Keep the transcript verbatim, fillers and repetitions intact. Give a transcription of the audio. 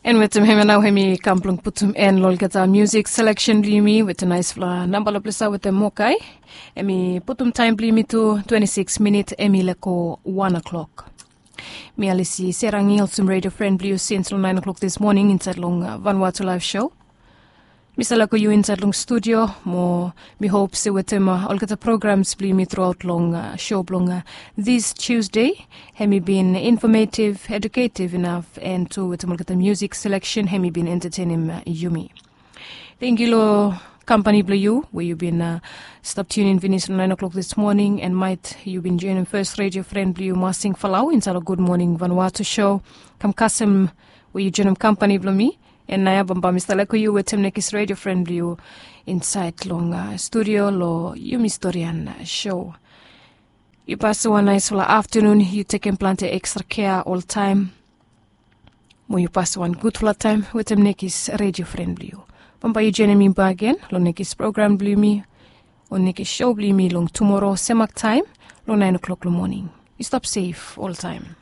En wetem hem ya nao hem i kam blong putum en long olgeta musik seleksen blong yumi wetem naispela namba long ples ya wetem mokai. Hem i putum taem blong yumi tu twenti sikis minit hem i leko wan o'klok. Mi alisi serang i olsem redio fren blong yu sins long naen o'klok dis moning insaed long vanwatu laef sho. Mi stap leko yu insaed long studio mo mi hop se wetem olgeta programs blong yumi truaot long sho blong dis tiusde, hem i bin infometiv eduketiv inaf en tu wetem olgeta musik seleksen hem i bin entatenim yumi. Tengiu long kampani blong yu we yu bin stap tiunin finis long naen o'klok dis moning en maet yu bin joinim fes redio fren blong yu masing falau insaed long gud moning vanwatu sho. Kam kasem we yu joinim kampani blong mi. En naoia bambae mi stap leko yu wetem nekis redio fren blong yu insaed long studio long yumi storian sho. Yu pasim wan naesfala aftanun, yu tekem plante ekstra kea oltaem. Mo yu pasim wan gudfala taem wetem nekis redio fren blong yu. Bambae yu joinim mi bakegen long nekis program blong yumi o nekis sho blong yumi long tumora semak taem long naen o'klok long moning. Yu stap sef oltaem.